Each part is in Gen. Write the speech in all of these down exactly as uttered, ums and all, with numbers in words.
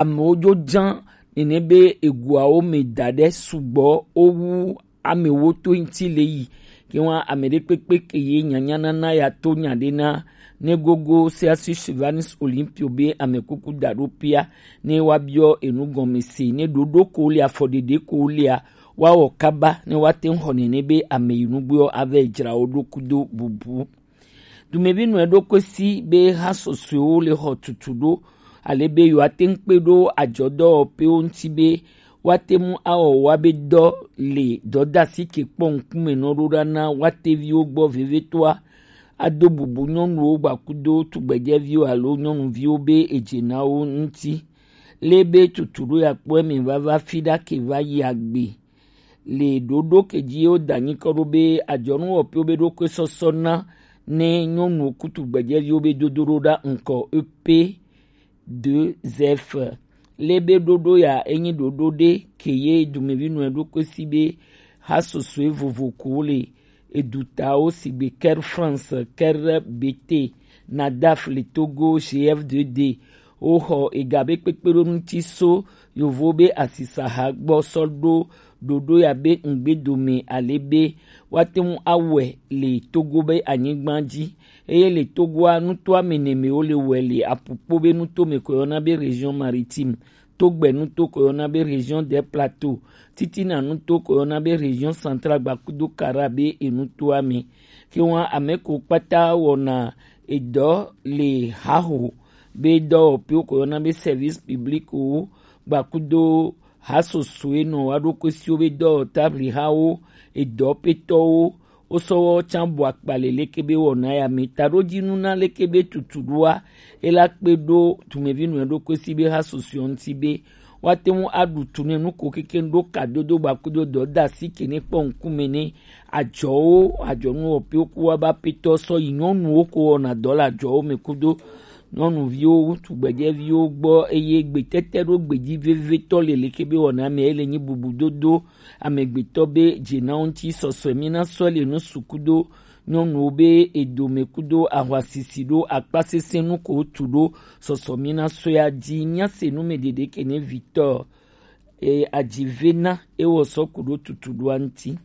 Amewo jo jan nene be eguawo me da ɖe sugbɔ wowu amewo to ŋuti le yi. Ke wa ame ɖe kpekpe ke ye nyanya nana ya to nya ɖe na ne gogo Celsius Chivanus Olympio be ame kuku da ɖo pia ne wa biɔ enu gɔme se ne ɖoɖo ko le afɔ ɖeɖe ko lea wa wɔ kaba ne wa te ŋu xɔ nene be ame yi nugbeɔ ave dzra wo ɖo kudo bubu. Dumevi nɔe ɖo kɔe si be ha sɔsɔewo le xɔ tutu ɖo ale be yewoate ŋu kpe ɖo adzɔdɔwɔƒewo ŋuti be woate ŋu awɔ woabe dɔ le dɔdasi ke kpɔ ŋkume nɔ ɖo ɖa na woateviwo gbɔ vevitɔa, ado bubu nyɔnuwo gbakudo tugbedzɛviwo alo nyɔnuviwo be edze na wo ŋuti. Le be tutu ɖo yakpɔ eme vava fi ɖa ke va yi agbe. Le ɖoɖo ke dzi wo da nyikɔ ɖo be adzɔnu wɔƒewo be ɖokui sɔsɔ na ne nyɔnuwo kutu gbedzɛviwo be dodo ɖo ɖa ŋkɔ E P deux F. Le be ɖoɖo ya enyi ɖoɖo ɖe ke ye dumevi nɔe ɖokui si be ha sɔsɔe vovo ko le edutawo sigbe Ker France, Ker B T, Nadaf le Togo, G F deux D. Woxɔ ega be kpekpeɖonu ŋuti so yovo be asisaha gbɔ sɔ ɖo ɖoɖo ya be ŋgbe dome ale be woate ŋu awɔe le Togo be anyigba dzi. Eye le Togoa, nutoa me nɛ me wo le wɔe le apukpo be nuto me ko yɔna be région maritime, togbe nuto ko yɔna be région des plateaux, titina nuto ko yɔna be région centrale gbakudo kara be enutoa me. Ke wa ame ko kpata wɔna edɔ le haho be dɔwɔƒewo ko yɔna be service public wo gbakudo ha sɔsɔe nɔ wa ɖo kɔe si wo be dɔwɔ tabli hawo, edɔ petɔwo, wo sɔ wɔ can bɔ akpa le leke be wɔna ya me. Taɖodzinu na leke be tutu ɖoa, e la kpe ɖo tumevi nɔe ɖo kɔe si be ha sɔsɔe ŋuti be woate ŋu aɖu tu ne nu ko kekeŋ ɖo kadodo gbakudo dɔdasi ke ne kpɔ ŋkume ne adzɔwo, adzɔnu wɔƒewo ku wa ba petɔ sɔ yi nyɔnuwo ko wɔna dɔ le adzɔwo me kudo nyɔnuviwo, ŋutsu gbedzɛviwo gbɔ, eye gbetete ɖo gbedzi vevitɔ le leke be wɔna me ele nyi bubudodo amegbetɔ be dze na wo ŋuti sɔsɔe mi na sɔ le nu su kudo nyɔnuwo be edome kudo ahwasisi ɖo akpasesẽ nu ko tu ɖo sɔsɔ mi na sɔea dzi. Mia se nu me ɖeɖe ke ne vitɔ e adzive na ewɔ sɔ ku ɖo tutu ɖoa ŋuti.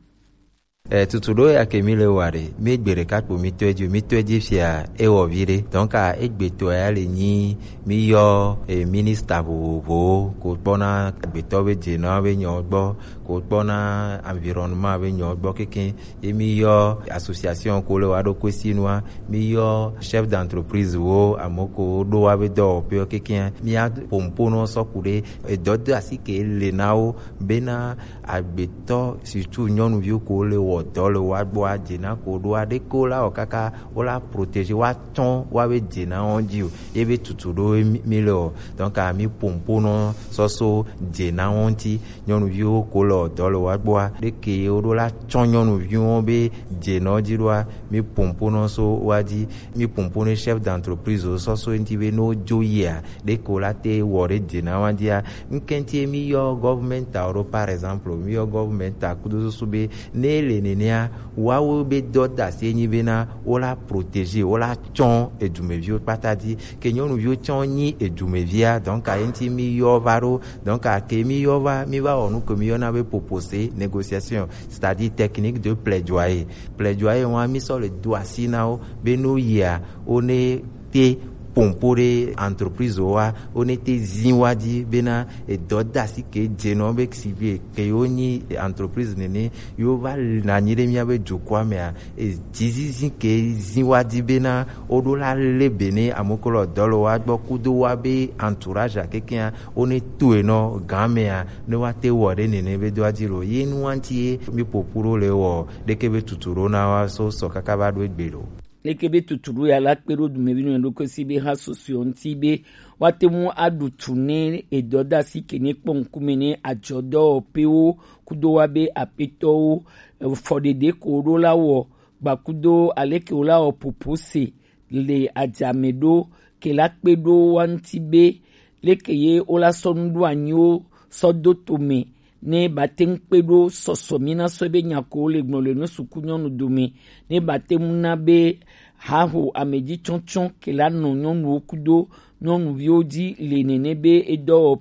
E, tutu ɖo ya ke mi le wa ɖe, mi gbe ɖeka kpo mi tɔe dzi, mi tɔe dzi fia ewɔ vi ɖe. Donc, a, egbetɔ ya le nyi mi yɔ, e, minista vovovowo ko kpɔna agbetɔ be dze na be nyɔ gbɔ, ko kpɔna environnement be nyɔ gbɔ kekeŋ. Ye mi yɔ association ko le wa ɖo kɔe si nua, mi yɔ chef d'entreprise wo, ame ko ɖo wa be dɔwɔƒe kekeŋ. Mi a pompo nɔ sɔ ku ɖe edɔ do asi ke le na wo bena agbetɔ, surtout nyɔnuviwo ko le wɔ dɔ le wa gbɔa, dze na ko ɖoa, ɖeke wo la wɔ kaka wo la protéger, wa tsɔ wa be dze na wo dzi o. Ye be tutu ɖo mi, mi le o. Donc, a, mi pompo nɔ sɔso dze na wo ŋuti. Nyɔnuviwo ko le wɔ dɔ le wa gbɔa, ɖeke wo ɖo la tsɔ nyɔnuviwo be dze na wo dzi ɖoa, mi pompo nɔ so wa dzi. Mi pompo ne chef d'entreprise wo sɔso ŋuti be no dzo yia, ɖeke wo la te wɔ ɖe dze na wa dzia. Ŋkɛnti mi yɔ government a ɖo, par exemple, mi yɔ government a kudo susu be ne le nenea, wawo be dɔ da se nyi bena wo la protéger, wo la tsɔ edumeviwo kpata dzi. Ke nyɔnuviwo tsɔ nyi edumevia, donc a ŋuti mi yɔ va ɖo, donc a ke mi yɔ va, mi va wɔ nu ke mi yɔna be propose, négociation, c'est-à-dire technique de plaidoyer. Plaidoyer wa mi sɔ le do asi na wo be no yia, wo ne te pompo ɖe entreprise wa, wo ne te zi wa dzi bena edɔ da si ke dze nɔ be si be ke yo nyi entreprise nene yo va na nyi ɖe mia be dukɔa mea, e dzizizi ke zi wa dzi bena wo ɖo la le be ne amokolo dɔ le wa gbɔ kudo wa be entourage a kekea wo ne to e nɔ gan mea ne wa te wɔ ɖe nene be do a dzi lo ye nu wa ŋuti ye mi popo ɖo le wɔ ɖeke be tutu ɖo na wa so sɔ kaka va ɖo egbe lo. Leke be tutuɖo ya la kpe ɖo dumevi nɔ ɖokui si be ha sɔsɔe ŋuti be woate ŋu aɖu tu ne edɔdasi ke ne kpɔ ŋkume ne adzɔdɔwɔƒewo kudo wa be aƒetɔwo, fɔɖeɖe ko wo ɖo la wɔ gbakudo aleke wo la wɔ popo se le adzame ɖo ke la kpe ɖo wa ŋuti be leke ye wo la sɔ nu ɖo anyi wo sɔ do to me ne ba te ŋu kpe ɖo sɔsɔ mi na sɔ be nya ko wo le gblɔ le nu suku nyɔnu dome ne ba te ŋu na be haho ameji tsɔtsɔ ke la nɔ nyɔnuwo kudo nyɔnuviwo ji le nene be edɔwɔƒe